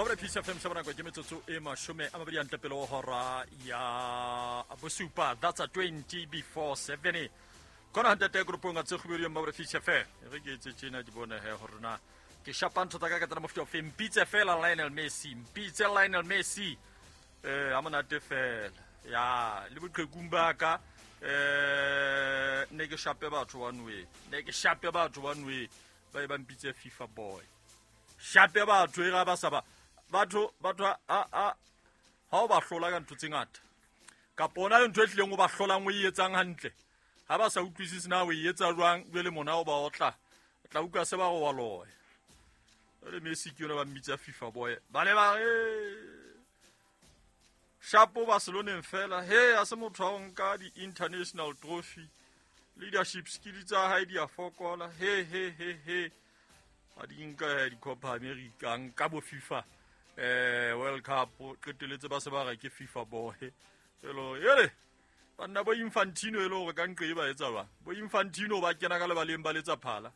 Mabra Peace FM sa bonako ke metsotso e 20 a ntle pele ho hora ya bosupa. That's a 20 before 7. Kona hantate grupong a tse kgubedi ya Mabra Peace FM. Re ke etse tjena di bone he hore na ke shapa ntho tsa ka ka tsena mofuta ofe. Mpitse fela Lionel Messi, mpitse Lionel Messi. A monate fela. Ya le boqhekung ba ka ne ke shape batho one way. Ne ke shape batho one way. Ba e ba mpitse FIFA boy. Shape batho e ga ba sa ba batho batho a a ha o ba hlola ka ntho tse ngata kapa ona le ntho e tlileng o ba hlolang o e etsang hantle ha ba sa utlwisise na o e etsa jwang jwale mona o ba otla tla utlwa se ba go wa loya jwale Messi ke yona ba mmitsa FIFA boy ba le ba shapo Barceloneng fela he a se motho wa ho nka di-international trophy leadership skills tsa hae di a fokola he he he he a di nka di-Copa America nka bo FIFA World Cup qeteletse ba se ba re ke FIFA boy elo ele banna bo Infantino e le hore ka nqe e ba etsa jwang bo Infantino ba kena ka lebaleng ba letsa phala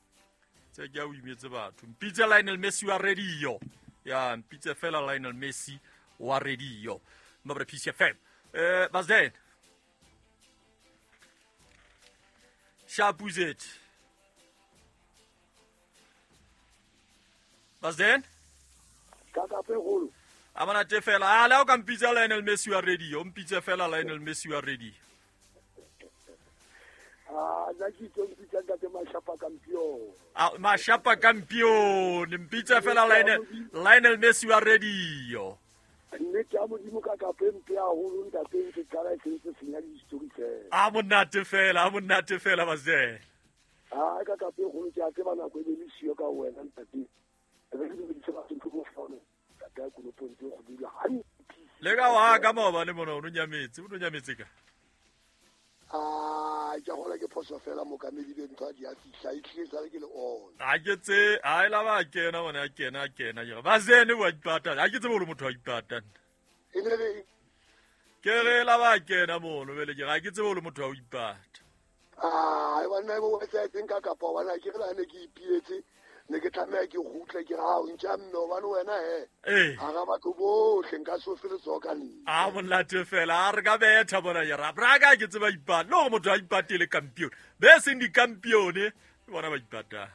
tse ke a o imetse batho mpitse Lionel Messi wa radio ya mpitse fela Lionel Messi wa radio Mabra Peace FM Bazden Shapuzet Bazden Kaka pegolo a monate fela a le o ka mpitsa Lionel Messi wa radio mpitse fela Lionel Messi wa radio a nna ke itse mpitsa ntate Mashapa Campion a Mashapa Campion mpitse fela Lionel Messi wa radio nnete ya modimo ka kape mpe haholo ntate ntse qala e sentse senya di-story fela a monate fela a monate fela Bazden a ka kape kgolo ke a tseba nako e be le siyo ka wena ntate re ke dumedise batho ntho mo fone ntate ya konopong tse go dula hantle le ka wa ka maobane mona o no nyametse ka a ke gola ke phoso fela mokamedi be ntho a di a fihla e tlile sale ke le on a ke tse a ela ba kena bona a kena a kena ke ba zene wa ipata a ke tsebe hore motho wa ipata e ne le ke re la ba kena mono bele ke ga ke tsebe hore motho wa ipata a e banna bo wa tseng ka kapa bana ke re la ne ke ipietse ne ke tlameha ke kgutle ke ra o ntša mme hobane wena he ha ga batho bohle nka se o fe letsoho ka nna a monate fela a re ka betha bona ya ra braka ke tseba ipata le gore motho a ipatele campione be seng di-campione ke bona ba ipatang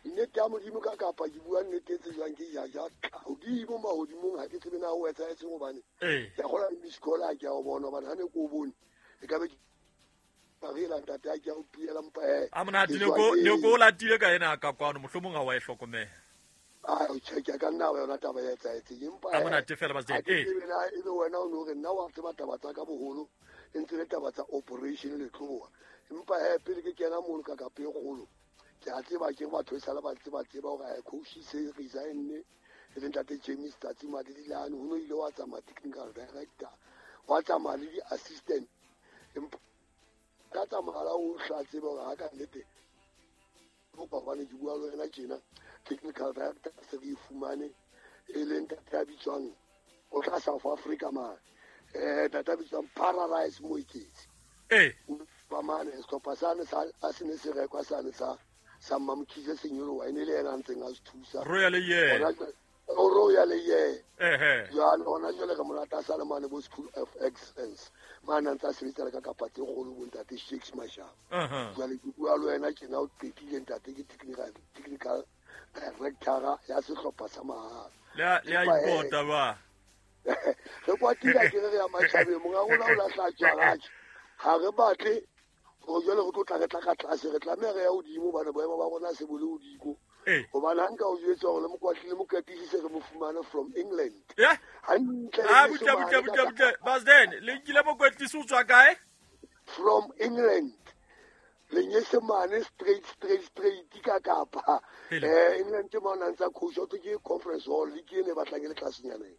nnete ya modimo ka kapa ke bua nnete e tsejwang ke jaja hodimo mahodimong ha ke tsebe na o etsahetseng hobane ke a kgola le miss call ha ke a o bona hobane ha ne ke o bone e ka be a monate ne ko o latile ka ena ka kwano mohlomong ha wa e hlokomela a ka nna wa yona taba ya etsahetseng empa a monate fela ba e be wena o no re nna wa tseba taba tsa ka boholo e ntse le taba tsa operation letloa empa he pele ke kena mono ka kape e kgolo ke a tseba ke batho e sale ba tseba tseba hore coach se resigne e le ntate James Tsatsi Madilane ho no ile wa tsamaya technical director wa tsamaya le di-assistant empa ka tsamaya o hla tseba hore ha ka nnete hobane ke bua le wena tjena technical director se re e fumane e leng ntate ya bitswang o tla South Africa mane ntate a bitswang Paradise Moiketsi ba mane sehlopha sane sa a se ne se rekwa sane sa sa Mmamkhize Senyolowa e ne le yena a ntseng a se thusa Royal ye Royal ye jwale hona jwale re monate a sale mane bo School of Excellence mane a ntse a sebetsa le ka kapa tse kgolo bo ntate Shakes Mashaba jwale ke bua le wena tjena o qetile ntate ke technical director ya sehlopha sa mahala le a ipota ba re kwatile ke re ya matjhabeng monga rona o lahla tswaratjhe ha re batle gore jwale re tlo tla re tla ka tlase re tlameha re ya hodimo hobane boemo ba rona se bo le hodimo hobane ha nka o jwetsa hore le mokwatlile mokatisi se re mo fumane from England hantle butle butle butle butle Bazden le nkile mokwetlisi o tswa kae from England lenyesemane straight straight straight ka kapa England ke mona ntsa coach o ke conference hall le ke ne batlang le tlasenyaneng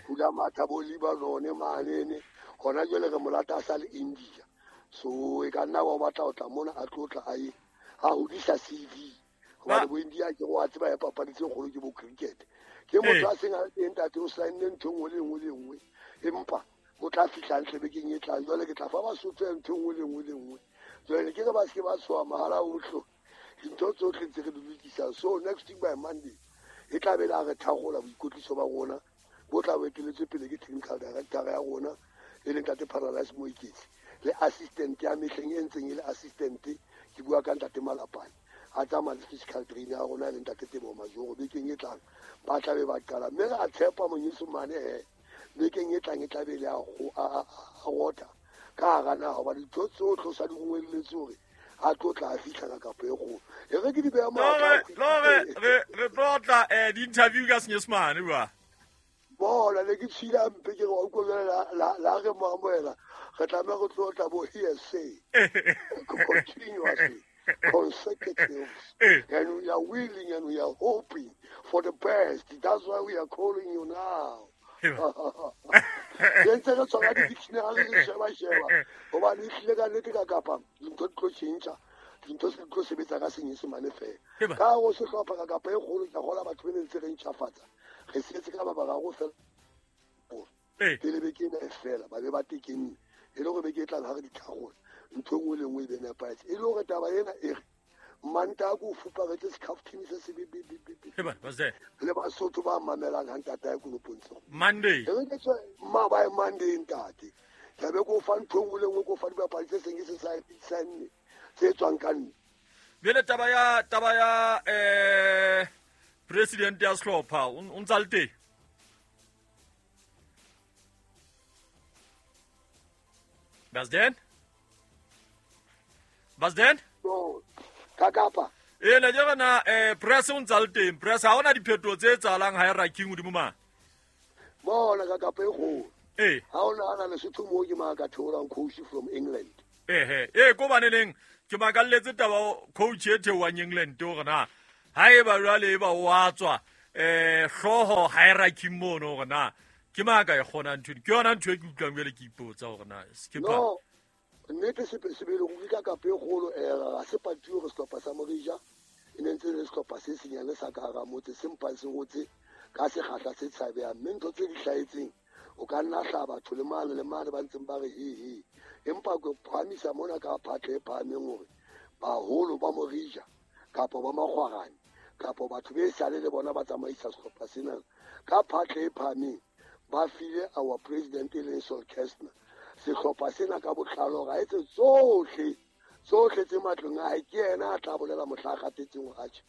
hula matha bo Lebanon mane ne hona jwale re molata a sa le India so e ka nna wa batla o tla mona a tlotla a ye a hodisa CV hobane bo India ke go a tseba ya papadi tse kgolo ke bo cricket ke motho a seng a le teng ntate o saenne ntho e nngwe le nngwe le nngwe empa o tla fihla ntle bekeng e tlang jwale ke tla fa Basotho ntho e nngwe le nngwe le nngwe jwale ke re ba se ke ba tshoha mahala ohle dintho tsohle tse re di lokisang so next week by Monday e tla be le a re tharola boikotliso ba rona Bo tla bo eteletswe pele ke technical director ya rona e leng Ntate Paradise Moiketsi le assistant ya mehleng e ntseng e le assistant, ke bua ka Ntate Malapane, a tsamaya le physical trainer ya rona e leng Ntate Teboho Majoro. Bekeng e tlang ba tla be ba qala, mme re a tshepa Monyesemane he bekeng e tlang e tla be le a rota ka hara naha, hobane dintho tsohle o sa di rongwelletse hore a tlo tla a fihla ka kapo e kgolo. E re ke di beha matla. Re tlo tla di-interview ka Senyesemane bua. Bona ne ke tshila mpe ke re wa utlwa jwale la re mo amohela, re tlameha re tlo tla bo hearsay continuously, consecutives, and we are willing and we are hoping for the best. That's why we are calling you now. Re ntse re tshwara di-dictionary re sheba-sheba, hobane ehlile ka nnete ka kapa dintho di tlo tjhentjha, dintho se di tlo sebetsa ka Senyesemane fela. Ka hare ho sehlopha ka kapa e kgolo, ke a kgolwa batho be ne ntse re ntjhafatsa, re setse ka ba bararo fela pele beke ena e fela, ba be ba tekenne e le hore beke e tlang ha re di tharola ntho e nngwe le nngwe e be nepahetse. E le hore taba ena e re Mantaha ko fuparetse sekhafthini se se le Basotho ba mamelang ha ntate a konopong tseo. Monday. E re ke tswe mabae Monday ntate. Ke be ko fa ntho e nngwe le nngwe, ko fa dibapadi tse seng ke se saenne tse tswang ka nne. Bjale taba ya president ya sehlopha o ntsa le teng? Basden? Basden? No. Ka kapa. E ne ke rena press o ntsa le teng. Press ha ona diphetoho tse etsahalang hierarchy hodimo ma. Bona ka kapa e kgolo. Ha o nahana Lesotho moo ke mang ka theolang coach from England. Ko baneleng ke makalletse taba coach e theohang England hore na haeba jwale e ba o a tswa hlooho hierarchy mono hore na ke mang ka e kgonang ntho ke yona ntho e ke utlwang jwale ke ipotsa hore na skipper. No, nnete sebele ruri ka kapa e kgolo ga se patio re sehlopha sa Morija e ne ntse le sehlopha se senyane sa ka hara motse se mpang se hotse ka sekgahla se tshabehang, mme ntho tse di hlahetseng o ka nna hla batho le mane le mane ba ntseng ba re he he, empa ke phahamisa mona ka phatla e phahameng hore baholo ba Morija kapa ba Makgwarane kapa batho be sale le bona ba tsamaisa sehlopha sena ka phatla e phahameng ba file our president e leng Sol Kestner sehlopha sena ka botlalo hore a etse tsohle tsohle tse matlong a hae. Ke yena a tla bolela mohla a kgathetseng hore atjhe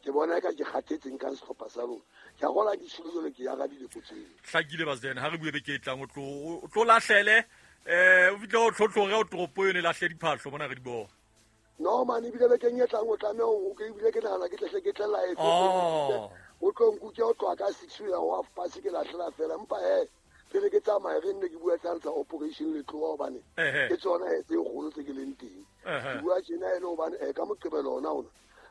ke bona eka ke kgathetseng ka sehlopha sa lona. Ke a kgolwa ke tshilo jwale ke arabile potso eo. Hlakile Basden, ha re bue beke e tlang o tlo lahlele o fihle o tlhotlhore o toropo yone lahle diphahlo mona re di bona. No man, ebile bekeng e tlang o tlameha o ke ebile ke nahana ke tlehle ke tle live. O tlo nkuke o tloha ka 6 ya ho half past ke lahlela fela, empa pele ke tsamaye re nne ke bua tsa operation Letloa hobane ke tsona tse kgolo tse ke leng teng. Ke bua tjena e le hobane ka Moqebelo ona ona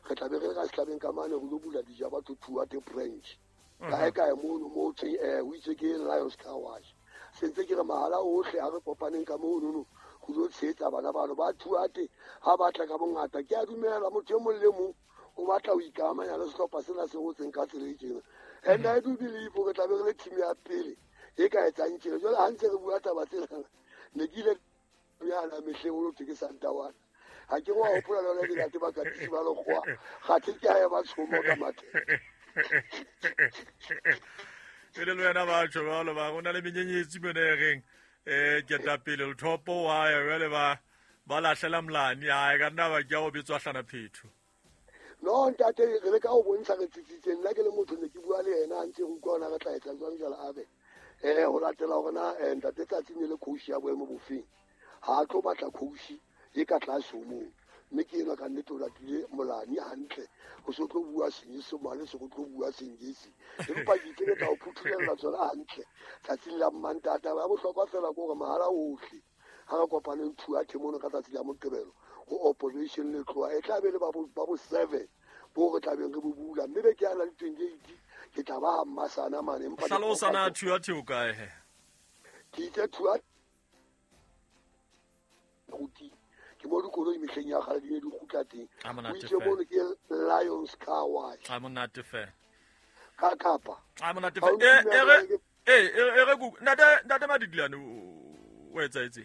re tla be re ka sehlabeng ka mane re lo bula dija batho Thuate branch. Kae kae mono mo thweng o itse ke Lions Car Wash. Se ntse ke re mahala ohle ha re kopaneng ka mono no go lo tshehetsa bana bano ba Thuate ha ba tla ka bongata. Ke a dumela motho e mong le mong o batla ho ikamanya le sehlopha sena se hotseng ka tsela e tjena. And I do believe re tla be re le team ya pele e ka etsang tjena. Jwale ha ntse re bua taba tsena ne ke ile yana mehleng o thwe ke Santawana. Ha ke wa hopola le yona dilate ba katisi ba lekgowa kgathe ke ha e ba tshomo ka mathe. E le wena batho jwalo ba go na le menyenyetsi mona e reng ketapele lethopo wa ya jwale ba lahlela molane a ka nna ba ke o betswa hlana phetho. No ntate re le ka ho bontsha re tsitsitse nna ke le motho ne ke bua le yena a ntse re utlwa hore re tla etsa jwang jwale a re ho latela hore na ntate Tsatsi ne le coach ya boemo bofeng ha a tlo batla coach e ka tlase ho moo, mme ke enwa ka nnete o latile molane hantle ho se tlo bua Senyesemane se go tlo bua Sengisi, empa ke itse ke tla o phuthulela tsona hantle tsatsing la Mmantaha. Taba ya bohlokwa fela ke hore mahala ohle ha re kopaneng Thuate mono ka tsatsi la Moqebelo ho operation Letloa e tla be le ba bo 7 bo re tlabeng re bo bula, mme be ke ana le 28 ke tla ba ha Mmasana mane. Empa hlalosa na Thuate o kae he? Ke itse Thuate ke mo dikoloi mehleng ya kgale di ne di kgutla teng. O itse mono ke Lions Car Wash. A monate fela. Ka kapa. A monate fela. E re ku ntate Madidiane o etsaetse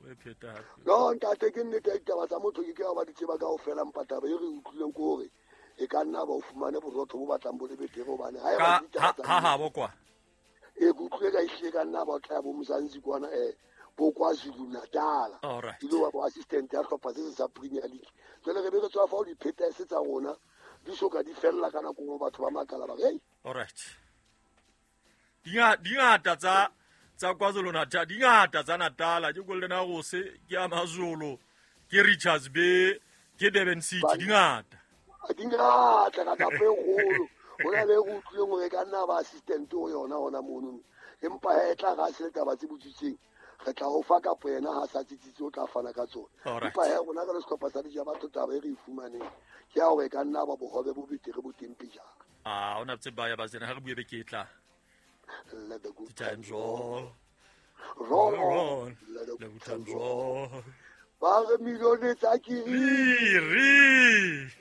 o e pheta hape. No ntate ke nnete ya ditaba tsa motho ke ke ba di tseba kaofela, empa taba e re utlwileng ke hore e ka nna ba o fumane borotho bo batlang bo le betere hobane ha e ba ditaba tsa ha bo kwa. E ke utlwile ka ehlile ka nna ba tla bo Mzansi kwana bo KwaZulu Natal. Ile wa bo assistant ya hlopha se sa Premier League. Jwale re be re tswa fa o dipheta se tsa rona di soka di fella ka nako nngwe batho ba makala ba re hey. All right. Dingata tsa KwaZulu Natal, dingata tsa Natal, ke Golden Arrows, ke AmaZulu, ke Richards Bay, ke Durban City, dingata. Dingata ka kapo e kgolo. Ho na le re utlwileng hore ka nna ba assistant ho yona hona mono. Empa he tla ga se le taba tse botsitseng. Re tla o fa kapo yena ha sa tsitsitse o tla fana ka tsona. Empa he rona re le sehlopha sa Dija Batho taba e re e fumaneng ke ya hore ka nna ba bohobe bo betere bo teng pejana. Ah, ona tse ba ya ba tsena ha re bue beke e tla. Let the good times roll. Roll on. Let the good times roll. Ba re milione tsa kiri. Ri.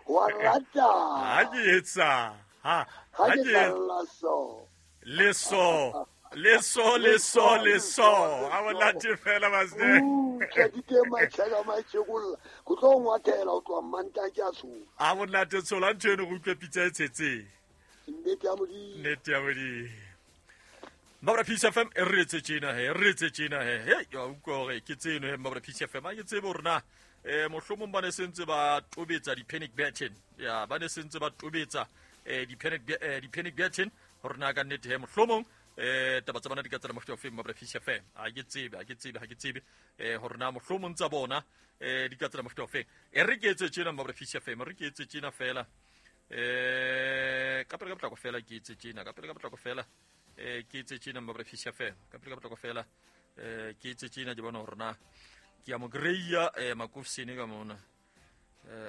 Wa rata. Ha ke etsa. Ha ke etsa so. Le so. Le so le so le so. Ha monate fela basne. Ke di teng matjhaka matjhekolla. Go tlo ngwathela o tloha Manta ke a tshola. Ha monate tshola ntho eno go utlwe pitsa e tshetseng. Nnete ya Modimo. Nnete ya Modimo. Mabra Peace FM e re etse tjena he, re etse tjena he. Hey, ya utlwa hore ke tseno he Mabra Peace FM. Ha ke tsebe hore na mohlomong ba ne sentse ba tobetsa di-panic button. Ya, ba ne sentse ba tobetsa di-panic button hore na ka nnete he mohlomong taba tsa bona di ka tsela mofuta ofe Mabra Peace FM. Ha ke tsebe, ha ke tsebe, ha ke tsebe hore na mohlomong tsa bona di ka tsela mofuta ofe. E re ke etse tjena Mabra Peace FM, re ke etse tjena fela. Ka pele ka potlako fela ke etse tjena, ka pele ka potlako fela ke etse tjena Mabra Peace FM, ka pele ka potlako fela ke etse tjena ke bona hore na ke a mo greya Makofsene ka mona.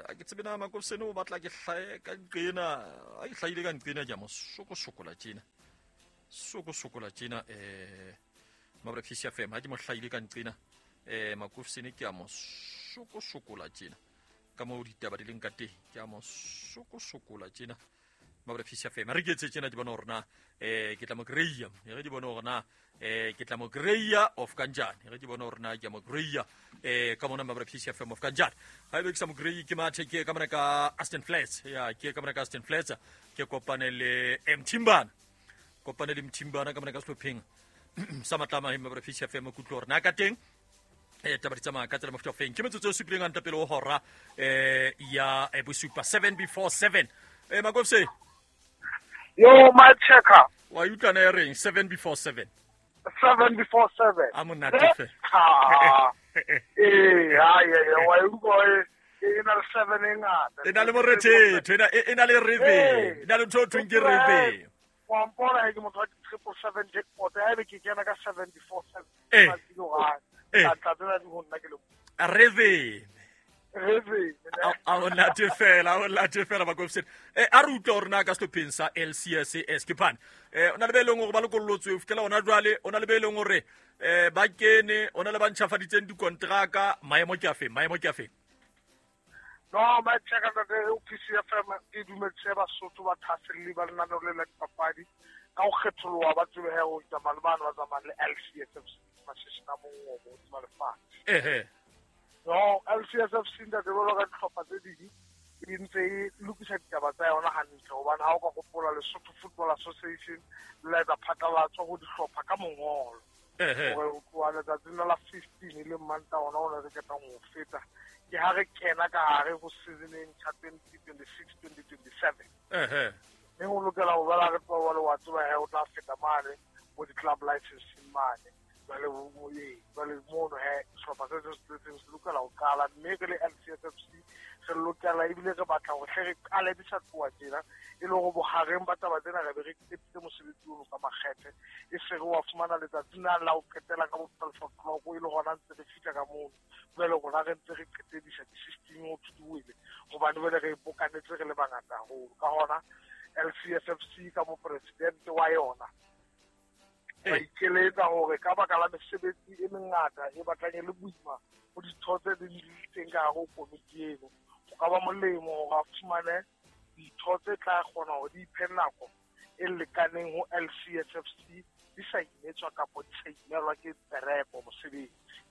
A ke tsebe na Makofsene o batla ke hlae ka nqena, a ke hlahile ka nqena ke a mo sokosokola tjena. Sokosokola tjena Mabra Peace FM, ha ke mo hlahile ka nqena Makofsene ke a mo sokosokola tjena. Ka moo ditaba di leng ka teng ke a mo sokosokola tjena Mabra Peace FM. Re ke etse tjena ke bona hore na ke tla mo greya, re ke bona hore na ke tla mo greya of kanjani, re ke bona hore na ke mo greya ka mona Mabra Peace FM of kanjani. Ha ebe ke sa mo greyi ke mathe ke ka mona ka Aston Flats, ya ke ka mona ka Aston Flats ke kopane le Mthimbana, kopane le Mthimbana ka mona ka sehlopheng sa Matlama he Mabra Peace FM ku utlwe hore na ka teng taba di tsamaya ka tsela mofuta ofeng. Ke metsotso e supileng a ntapele ho hora ya bosupa 7 before 7. Makofse. Yo, my checker. Wa utlwana e reng 7 before 7. 7 before 7. A monate fe. Ha ye wa utlwa e na le 7 e ngata. E na le morethetho, e na le rhythm, e na le ntho thweng ke rhythm. Wa mpona ke motho wa 777 jackpot, ha ebe ke kena ka 7 before 7. Rhythm. A monate fela Makofsene. A re utlwa hore na ka sehlopheng sa LCSS ke phane. O na le be leng hore ba lokollotswe ho fihlela hona jwale, o na le be leng hore ba kene, o na le ba ntjhafaditseng dikontraka, maemo ke afe, maemo ke afe? No, my checker ntate o PCFM ke dumetse Basotho ba thaselli ba lenaneo le la dipapadi ka ho kgetholoha ba tsebe he ho tsamaya le bana ba tsamayang le LCSFC mashishini a mongobo hodima lefatshe. No, LCSFC ntate jwalo ka dihlopha tse ding e ntse e lokisa ditaba tsa yona hantle hobane ha o ka hopola Lesotho Football Association le la etsa phatlalatso ho dihlopha ka mongolo. Hore ho tloha letsatsing la 15 e leng Mantaha ona o ne re qetang ho feta ke ha re kena ka hare ho season e ntjha 2026-2027. Mme ho lokela ho bala re tloha le wa tseba he o tla feta mane bo di-club licensing mane. Jwale mono he sehlopha se seng se lokela ho qala, mme re le LCSFC re lokela ebile re batla hore hle re qale di sa tloha tjena e le hore bohareng ba taba tsena re be re qetile mosebetsi ono ka makgethe, e se re wa fumana letsatsi na la ho qetela ka bo 12 o'clock e le hona ntse re fihla ka mono. Jwale rona re ntse re qetedisa di-system ho thutuwele hobane jwale re bokanetse re le bangata haholo. Ka hona LCSFC ka mopresidente wa yona ba ikeletsa hore ka baka la mesebetsi e mengata e batlang e le boima ho ditho tse ding di teng ka hare ho komiti eno, ho ka ba molemo hore a fumane ditho tse tla kgona hore di iphe nako e lekaneng ho LCSFC di sa imetswa kapa di sa imelwa ke pereko mosebetsi.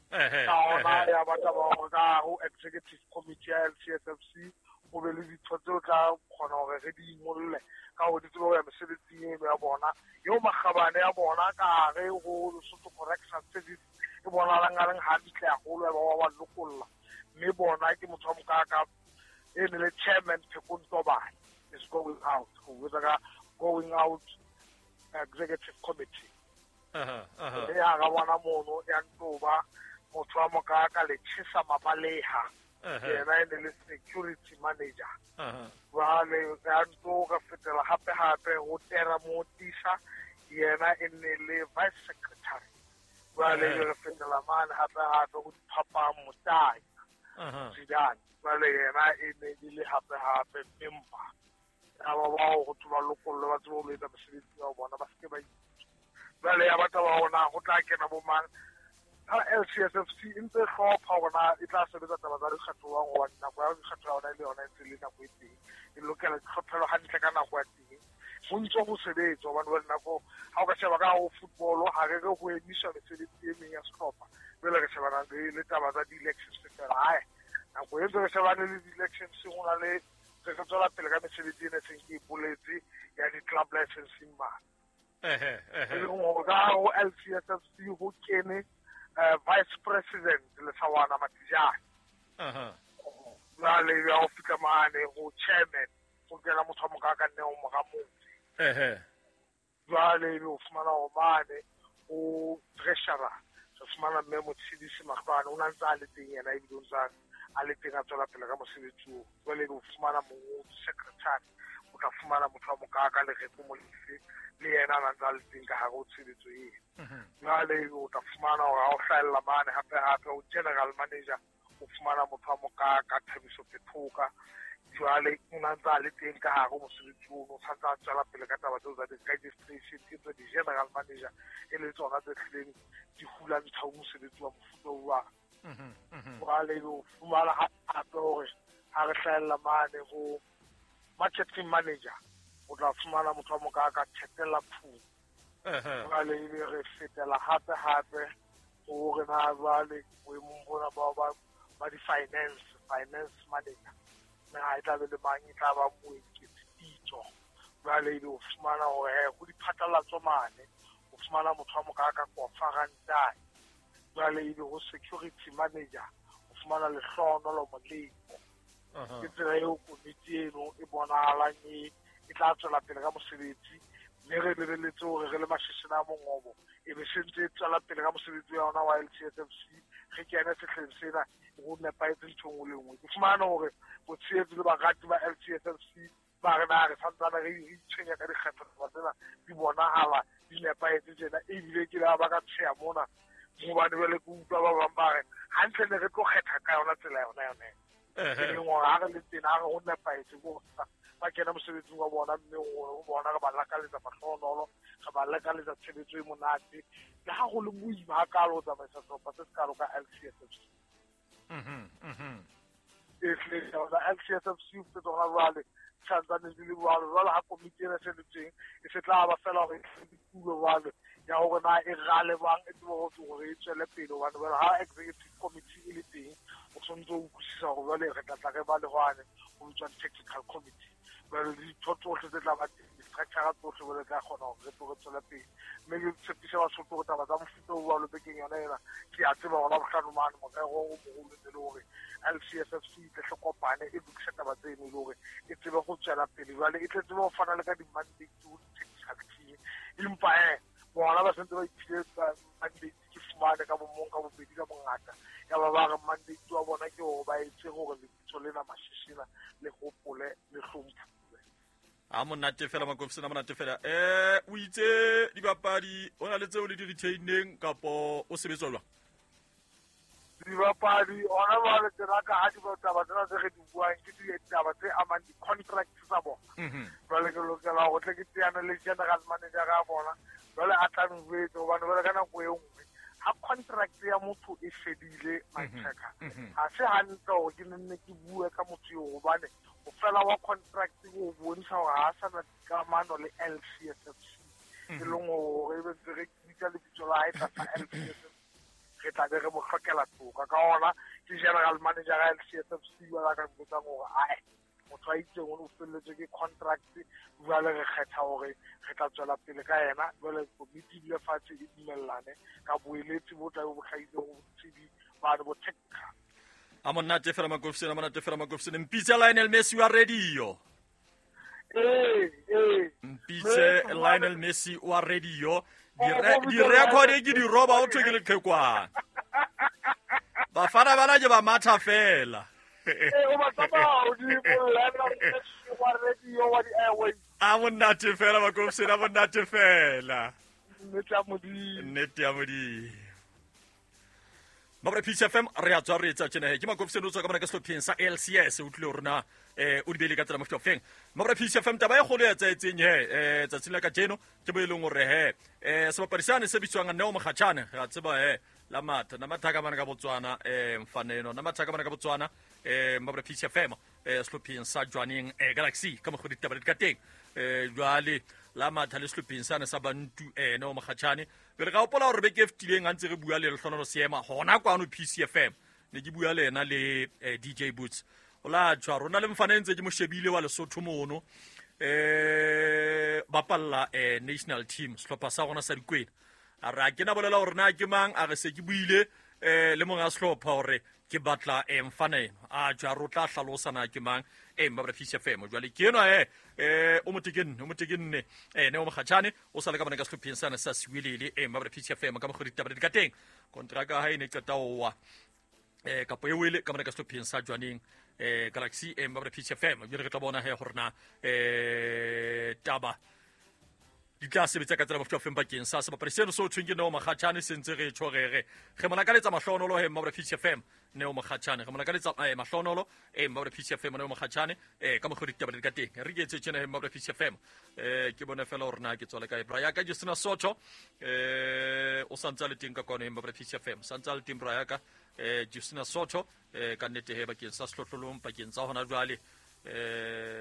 Ka hona ya batla ba hore ka ho executive committee ya LCSFC o be le ditho tseo tla kgona hore re di ingolle ka hore di tsebe ho ya mesebetsing eno ya bona eo makgabane ya bona ka hare ho Lesotho Correctional Service e bonahalang a leng hantle haholo ya ba wa ba lokolla. Mme bona ke motho wa mokaka e ne le chairman Phekong Tobane is going out, ho botsa ka going out executive committee. E hara bona mono ya ntoba motho wa mokaka le Tjhesa Mabaleha, yena e ne le security manager. Jwale ya nto re fetela hape hape ho Tera Motisa, yena e ne le vice secretary. Jwale re fetela mane hape hape ho Diphapang Motanya Zidane, jwale yena e ne e le hape hape member. Ya ba bao ho thwe ba lokollwe ba tsebe ho etsa mosebetsi wa bona, ba seke ba jwale ya batla ba ona ho tla kena bo mang. Ha LCSFC e ntse hlopha hore na e tla sebetsa taba tsa dikgetho jwang, hobane nako ya dikgetho ya yona e le yona e ntse e le nako e teng, e lokela ditlhophelo hantle ka nako ya teng. Ho ntso ho sebetswa hobane jwale nako ha o ka sheba ka ho football ha re re ho emiswa mesebetsi e meng ya sehlopha, jwale re shebana le taba tsa di-elections fela. Hae nako e ntse re shebane le di-elections ho na le re tswela pele ka mesebetsi ena e seng ke e boletse ya di-club licensing mane. E leng hore ka ho LCSFC ho kene Vice President Lesawana Matijane. Jwale ya ho fihla mane ho chairman ho kena motho wa mokaka nne o mora motse. Jwale ebe o fumana hore mane ho treasurer re fumana mme Motshidisi Mahlwane, o na ntse a le teng yena ebile o ntse a le teng a tswela pele ka mosebetsi oo. Jwale ebe o fumana mongodi secretary, o tla fumana motho wa mokaka Lereko Molefe, le yena a ntse a le teng ka hare ho tshebetso eno. Jwale ebe o tla fumana hore ha o hlahella mane hape hape o general manager, o fumana motho wa mokaka Thabiso Phethoka. Jwale o na ntse a le teng ka hare ho mosebetsi ono, o santse a tswela pele ka taba tseo tsa di-registration, ke tsa di-general manager e le tsona tse hlileng di hula ntlha ho mosebetsi wa mofuta o jwalo. Jwale o fumana hape hore ha re hlahella mane ho marketing manager, o tla fumana motho wa mokaka Thetela Phung. Jwale ebe re fetela hape hape hore na jwale boemong bona ba di-finance, finance manager, na e tla be le mang, e tla ba Moeketsi Pitso. Jwale ebe o fumana hore ho diphatlalatso mane o fumana motho wa mokaka Kofa Rantai. Jwale ebe ho security manager o fumana Lehlohonolo Moleko. Ke tsela eo komiti eno e bonahalang e tla tswela pele ka mosebetsi, mme re lebeletse hore re le mashishini a mongobo e be se ntse e tswela pele ka mosebetsi wa yona wa LCSFC. Re kene sehleng sena ho nepahetse ntho e nngwe le nngwe. Ke fumane hore botshehetsi le barati ba LCSFC ba re na re santsane re itshwenya ka dikgetho tsena di bonahala di nepahetse tjena, ebile ke la ba ka tsheya mona hobane jwale ke utlwa ba bang ba re hantle ne re tlo kgetha ka yona tsela yona yone. E leng hore ha re le tena ha re ho nepahetse ko ba kena mosebetsing wa bona, mme ho bona re ba lakaletsa mahlohonolo, re ba lakaletsa tshebetso e monate. Le ha ho le boima hakalo ho tsamaisa sehlopha se sekalo ka LCSFC. E hlile LCSFC ho tsona jwale santsane di le jwalo. Jwale ha komiti ena se le teng e se tla ba fela hore e tulo jwale ya hore na e rale bang e tsebe hore e tswele pele, hobane jwale ha executive committee e le teng o tshwanetse ho utlwisisa hore jwale re tla tla re ba le hwane ho bitswang technical committee. Jwale ditho tsohle tse tla ba teng, di-structure tsohle jwale tla kgona hore re tlo re tswele pele. Mme ke tshepise Basotho hore taba tsa mofuta o jwalo bekeng yona ena ke a tseba hore Labohlano mane morero o moholo ne le hore LCSFC e tle hle kopane e lokise taba tseno e le hore e tsebe ho tswela pele. Jwale e tle tsebe ho fana le ka di-mandate ho di-technical team, empa bona ba sentse ba iphile mandate ke fumane ka bomong ka bobedi ka bongata. Ya ba ba re mandate wa bona ke hore ba etse hore lebitso lena Mashishina le hopole le hlomphuwe. A monate fela Makofisana, monate fela. O itse dibapadi o na le tseo le di retaineng kapo o sebetswa jwang? Dibapadi ona jwale tsena ka ha ditaba tsena tse re di buang ke ditaba tse amang di-contract tsa bona. Jwale ke lokela hore tle ke teane le general manager ya bona, jwale a tla njwetse hobane jwale ka nako e nngwe ha contract ya motho e fedile my-checker, ha se hantle hore ke nenne ke bue ka motho eo, hobane ho fela wa contract ho bontsha hore ha sa na dikamano le LCSFC. E leng hore ebe ntse re bitsa lebitso la hae tlasa LCSFC, re tla be re mo hlokela toka. Ka hona ke general manager ya LCSFC jwale a ka nbotsang hore ae Motho a itseng o felletswe ke contract jwale re kgetha hore re tla tswela pele ka yena jwale komiti e dule fatshe e dumellane ka boeletsi bo tlabe bo hlahile ho botsebi bane bo technical. A monate fela Makofsene, a monate fela Makofsene. Mpitse Lionel Messi wa radio. Ee. Mpitse Lionel Messi wa radio. Di-record ke di roba o thwe ke leqhekwana. Bafana bana ke ba matha fela. O ba tsamaya hodimo, Lionel Messi wa radio wa di-airways. A monate fela Makofsene, a monate fela. Nnete ya Modimo. Nnete ya Modimo. Mabra Peace FM re a tswa re etsa tjena he ke Makofsene o tswa ka mona ka sehlopheng sa LCS o tlile ho rona o di beile ka tsela mofuta ofeng. Mabra Peace FM taba e kgolo ya etsaetseng he tsatsing la kajeno ke bo e leng hore he sebapadi sane se bitswang Neo Mokgatjhane re a tseba he la matha na matha ka mona ka Botswana mfaneno na matha ka mona ka Botswana Mabra Peace FM sehlopheng sa Jwaneng Galaxy ka mokgwa ditaba di ka teng jwale la matha le sehlopheng sane sa Bantu Neo Mokgatjhane. Pele ka hopola hore beke e fetileng ha ntse re bua le Lehlohonolo Seema hona kwano PCFM ne ke bua le yena le DJ Boots o la tjwa rona le mfana e ntse ke mo shebile wa Lesotho mono bapalla national team sehlopha sa rona sa Dikwena. A re a ke na bolela hore na ke mang, a re se ke buile le monga sehlopha hore ke batla mfana eno. A tjwa re o tla hlalosa na ke mang Mabra Peace FM. Jwale ke enwa o motekenne Neo Mokgatjhane o sa le ka mona ka sehlopheng sane sa Siwelele Mabra Peace FM ka mokgwa ditaba di ka teng. Kontraka ya hae e ne qeta ho wa kapo e wele ka mona ka sehlopheng sa Jwaneng Galaxy Mabra Peace FM. Jwale re tla bona he hore na taba di tla sebetsa ka tsela mofuta ofeng bakeng sa sebapadi seno se o thweng ke Neo Mokgatjhane se ntse re tjho re re re mo lakaletsa mahlonolo he Mabra Peace FM Neo Mokgatjhane re mo lakaletsa mahlonolo Mabra Peace FM Neo Mokgatjhane ka mokgwa ditaba di ka teng re ke etse tjena he Mabra Peace FM ke bone fela hore na ke tswale kae bra ya ka Justina Soto o santse a le teng ka kwano he Mabra Peace FM santse a le teng bra ya ka Justina Soto ka nnete he bakeng sa sehlohlolong pakeng tsa hona jwale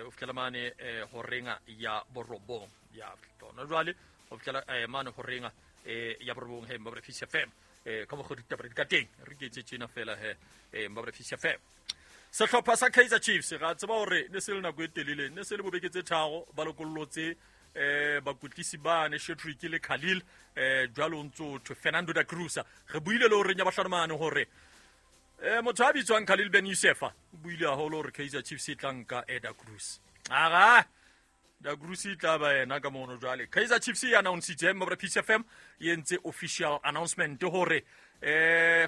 o fihlela mane horenga ya borobong ya tona jwale o fihlela mane horenga ya borobong he Mabra Peace FM ka mokgwa ditaba di ka teng re ke etse tjena fela he Mabra Peace FM. Sehlopha sa Kaizer Chiefs ga tseba hore ne se le nako e telele ne se le bobeke tse tharo ba lokollotse bakotlisi bane Shetrick le Khalil jwalo ntso thwe Fernando da Cruz re buile le hore nya bahlano mane hore motho a bitswang Khalil Ben Youssef o buile haholo hore Kaizer Chiefs e tla nka da Cruz. Ara da Cruz e tla ba yena ka mono jwale. Kaizer Chiefs e announce-itse Mabra Peace FM e entse official announcement hore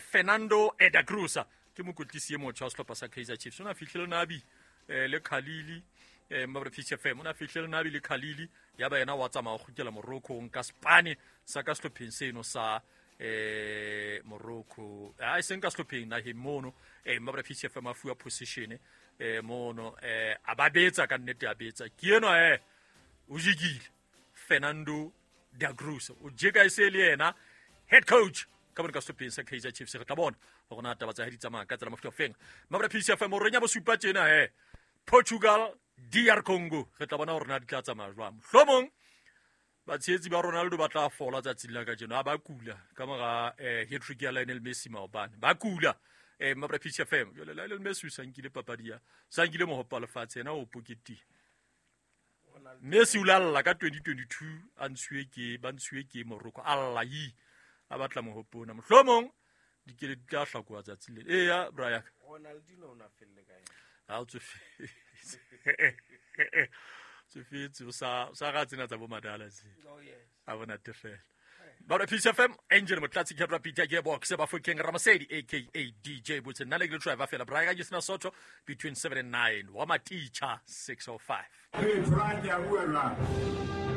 Fernando da Cruz ke mokotlisi e motjha wa sehlopha sa Kaizer Chiefs. O na fihlile Nabi le Khalili Mabra Peace FM o na fihlile Nabi le Khalili ya ba yena wa tsamaya ho kgutlela Morocco nka Spane sa ka sehlopheng seno sa Morocco a seng ka sehlopheng naheng mono Mabra Peace FM a fuwa position mono a ba betsa ka nnete a betsa ke enwa o jikile Fernando da Cruz o jeka e se le yena head coach ka mona ka sehlopheng sa Kaizer Chiefs. Re tla bona hore na taba tsa hae di tsamaya ka tsela mofuta ofeng. Mabra Peace FM o renya bosupa tjena he Portugal DR Congo re tla bona hore na di tla tsamaya jwang. Mohlomong batshehetsi ba Ronaldo ba tla fola tsatsing la kajeno ha ba kula ka mora hat-trick ya Lionel Messi maobane ba kula Mabra Peace FM. Jwale Lionel Messi o sa nkile papadi ya sa nkile mohope wa lefatshe yena o poketile. Messi o lalla ka 2022 a ntshuwe ke ba ntshuwe ke Morocco a lla yi a batla mohope ona. Mohlomong dikele di tla hlakoha tsatsing le. Eya bra ya ka Ronaldinho o na felle kae? Ha o tsofetse. Tsofetse o sa ga tsena tsa bo madala tse. Oh yes. A bona tefela. Mabra Peace FM Angel Motlatsi Kebra Peter Gearbox Bafokeng Ramasedi aka DJ Boots nna le ke driver fela bra ya ka Justina Soto between 7 and 9 wa Maticha 605. Hey, Frank, ya bua jwang?